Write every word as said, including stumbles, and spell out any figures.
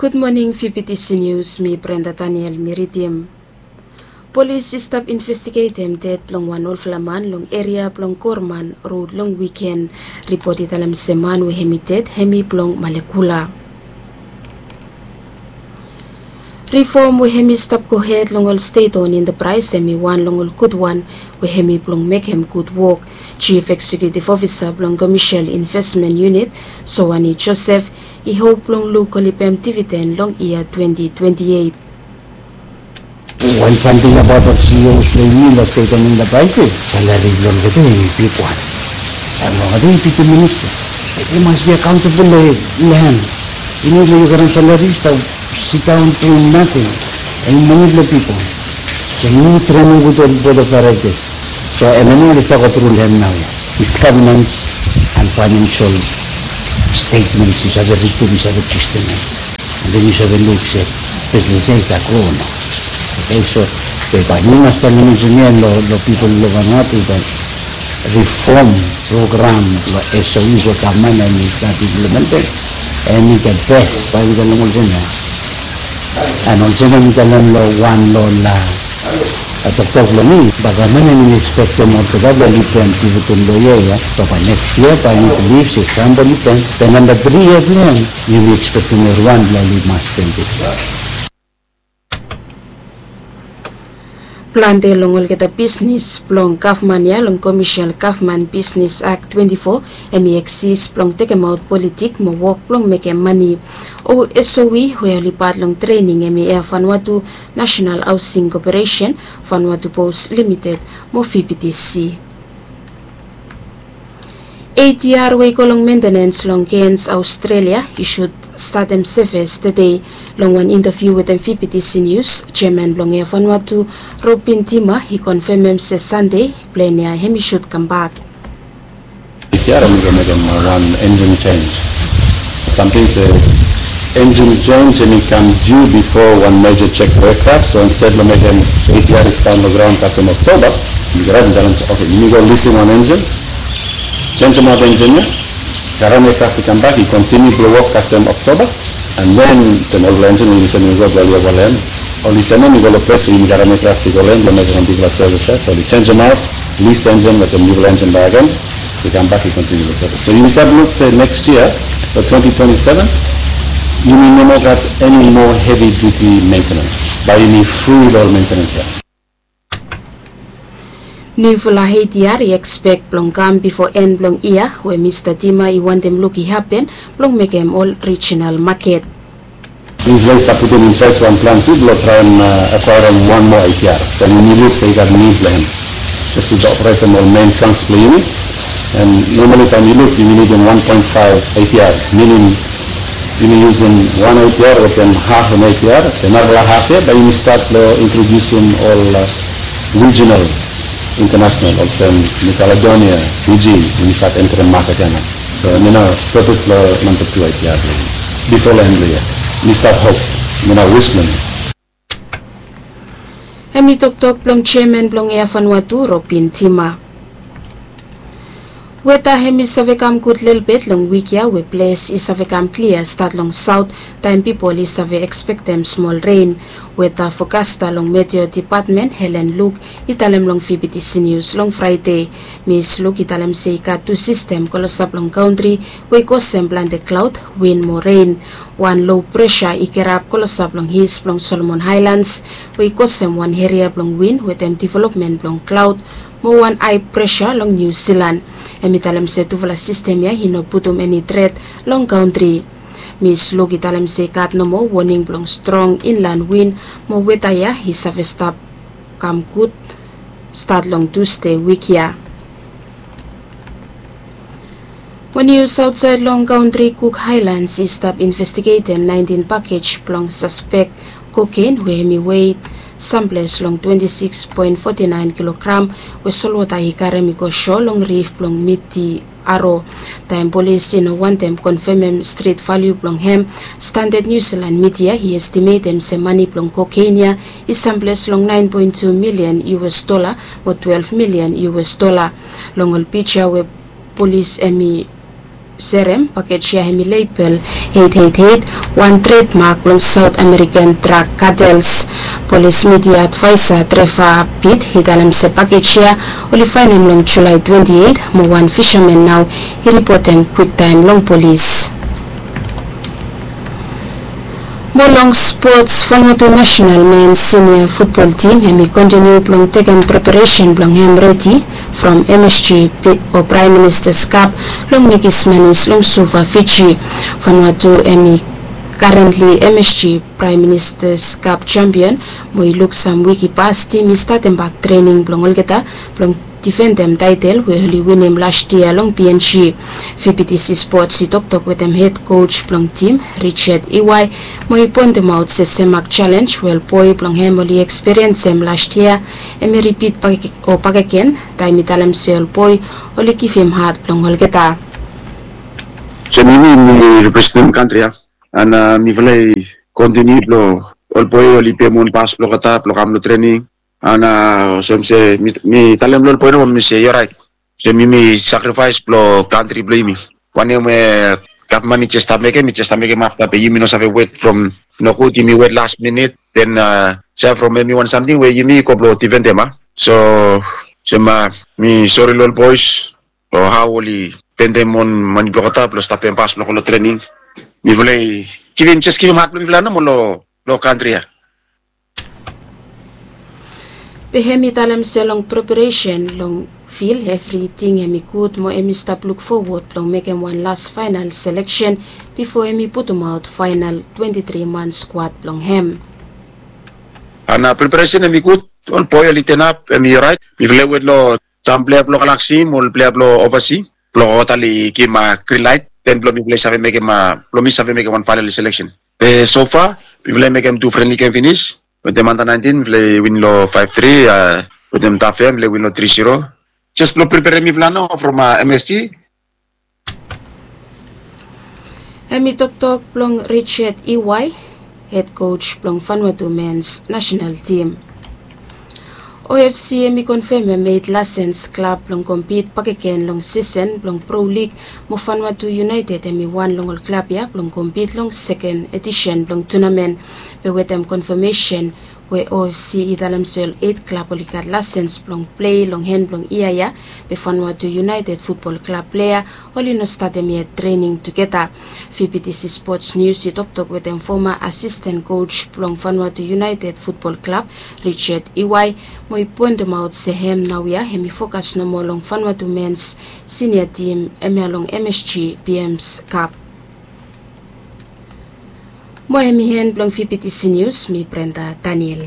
Gud moning, V B T C News, mi Brenda Daniel mi ridim. Polis i stap investigetem ded blong wan olfala man long eria blong Gorman Rod long wiken. Ripot i talem se man we hemi ded hemi blong Malekula. Rifom we hemi stap gohed long ol stet-on intaprais hemi wan long ol gudwan we hemi blong mekem gud wok. Jif Eksekutif Ofisa blong Komesel Investmen Yunit, Sowani Josef, i hop blong luk kolibem dividen long yia twenti twenti eit. Wan samting abaot ol C E Os blong yumi long stet-on intaprais, salari blong olgeta hemi bigwan. Sam long olgeta i B T ministas. Yu mas bi akaontabol long hem. Yu no, yu karem salari, stap sidaon dum nating. Hemi mani blong pipol. So yu trenem gud ol bord of directors. So hemia nao oli stap gotru long hem naoia. It's governance and financial statements, yu save ridim, yu save trastem hem. And then yu save luk se, business ia i stap gro o no. Okay, so bae yumi mas talem olsem ia long pipol long Vanuatu, bae rifom program long S O Es we gavman hemi stap implementem, hemi the best, bae yumi talem olsem ia. And olsem ia mi talem long wan long ol toktok blong mi, bae gavman hemi ekspektem olgeta blong oli pem dividend long yia ia. Be bae neks yia bae yumi bilif se sam blong oli pem. Be namba tri yia blong hem, yumi ekspektem evriwan blong oli mas pem dividend. Plante long olgeta bisnis blong gavman ia long Komesel Gavman Bisnis Ak twenti fo hemi eksis blong tekemaot politik mo wok blong mekem mane. O S O E we oli pat long trening hemi Air Vanuatu, National Housing Corporation, Vanuatu Post Limited mo V B T C. A T R we i go long mentenens long Cairns, Australia, i sud statem sevis tede. Long wan intaviu wetem V B T C News, jeaman blong Air Vanuatu, Robin Tima, i konfemem se Sande plen ia hemi sud kambak. A T R hemi go mekem wan engine change. Samting se engine change hemi kam due before wan major check for aircraft. So instead blong mekem A T R i stap long graon kasem Oktoba, yumi go raet long talem se, okay, yumi go lising wan engine, jenisim wan engine ia, karem aircraft i kambak i kontiniu blong wok kasem Oktoba. And then taem olfala engine oli sem i go blong oli ovaland, oli semem i go long ples we yumi karem aircraft i go long hem blong mekem wan bigfala sevis ia. So oli jenisim aot, lis engine wetem niufala engine bakegen, i kambak i kontiniu long sevis. So yumi stap luk se neks yia long twenti twenti seven yumi no moa gat eni moa hevi duti mentenens. Bae yumi fri long ol mentenens ia. Niufala A T R i ekspek blong kam bifo en blong yia we Mista Tima i wantem luk i hapen blong mekem ol rijinal maket. Niufala i stap putum in ples wan plan tu blong traem akwaerem wan moa A T R taem yumi luk se i gat nid blong hem. Jes tu operatem ol men trunks blong yumi. And normali taem yu luk yumi nidim wan poen faef A T Rs, minim yumi yusum wan A T R wetem haf long A T R, then narafala haf ia bae yumi stat long introdiusim ol rijinal, intanasonal, olsem New Caledonia, Fiji, yumi stat entrem maket ia nao. So hemia nao pepes blong namba tu A T R blong yumi. Bifo long en blong yia yumi stat hop, hemia nao wis blong yumi. Hemi toktok blong jeaman blong Air Vanuatu, Robin Tima. Weta hemi save kam gud lelebet long wik ia we ples i save kam klia stat long saot taem pipol i save ekspektem smol ren. Weta fokasta long Meteo Depatmen, Helen Luk, i talem long V B T C News long Fraede. Mis Luk i talem se i gat tu sistem klosap long kantri we i kosem plante klaod, win mo ren. Wan lo presa i kirap klosap long is blong Solomon Haelans we i kosem wan eria blong win wetem developmen blong klaod mo wan hae presa long Niu Silan. Hemi talem se tufala sistem ia i no putum eni tret long kantri. Mis Luk i talem se i gat nomo woning blong strong inlan win mo weta ia i save stap kam gud stat long Tusde wik ia. Mo nius aotsaed long kantri, Cook Highlands i stap investigetem naentin pakej blong saspek koken we hemi wet samples long twenti sikis poen foti naen kilogram we solwota i karem i go so long rif blong Miti Aro. Taem polis i no wantem konfemem stret valiu blong hem, Standard New Zealand Media i estimetem se mane blong koken ia i samples long naen poen tu milian U S dola mo twelef milian U S dola. Long ol pija we polis hemi Serem, pakej ya hemi label eight eight eight, wan trademark blong South American drug cartels. Polis midia advaesa Trevor Pitt i talem se pakej ya oli faenem long Julae twenti eit, mo wan fisamen nao i ripotem kwiktaem long polis. Mo long spots, Vanuatu nasenal men sinia futbol tim hemi kontiniu blong tekem preparesen blong hem redi from M S G o Praem Ministas Kap long mekis manis long Suva, Fiji. Vanuatu hemi karentli M S G Praem Ministas Kap jampion, mo i luk sam wik i pas tim i statem bak trening blong olgeta blong difendem taetel we oli winim las yia long P N G. V P T C Sports i toktok wetem hed koj blong tim, Richard Iwai, mo i poentemaot se semak jalenj we ol boe blong hem oli ekspiriensem las yia hemi ripit o bakegen, taem i talem se ol boe oli givim had blong olgeta. Olsem yumi, mi representem kantri ya, and mifala i kontiniu blong ol boe oli pem on pas blong olgeta blong kam long trening. And olsem se mi talem long ol boe nomo mi se i oraet. Olsem yumi sakrifaes blong kantri blong yumi. Wanem we gavman i jes stap mekem, i jes stap mekem afta be yumi no save wet from nogud yumi wet las minit, den se from hemi wan samting we yumi go blong difendem a. So olsem mi sori long ol boes o hao oli spendem on mane blong olgeta blong stap pem pas blong go long trening. Mifala i givim, jes givim had blong mifala nomo long kantri ya. Be hem i talem se long preparesen long fil evriting hem i gud mo hem i stap luk fowod blong mekem wan las faenal seleksen bifo hem i putumaot faenal twenti tri man skuad blong hem. And preparesen hem i gud, ol boe oli tenap, hem i oraet. Mifala i wet long sam plea blong Galaxy mo ol plea blong Ovasi blong olgeta oli givim grin laet, den blong mifala i save mekem, blong mi save mekem wan faenal seleksen. Be sofa mifala i mekem tu frenli gem finis. Wetem anda naentin mifala i win long faef tri, wetem Tafea mifala i win long tri zero. Jes blong preperem mifala nao from M S G. Hem i toktok blong Richard Iwai, hed koj blong Vanuatu mens nasenal tim. O F C hem i konfemem eit lasens klab blong kompit bakegen long sisen blong Pro League, mo Vanuatu United hem i wan long ol klab ya blong kompit long seken edisen blong tunamen. Be wetem konfemesen we O F C i talem se ol eit klab oli gat lasens blong plei long hen blong yia ya, be Vanuatu United futbol klab plea oli no statem yet trening tugeta. V P T C Sports News i toktok wetem foma asisten koj blong Vanuatu United futbol klab, Richard Iwai, mo i poentemaot se hem naoia hem i fokas nomo long Vanuatu mens sinia tim hemia long M S G P Ms Cup. Mo hem i hen blong V P T C News, mi Brenda Daniel.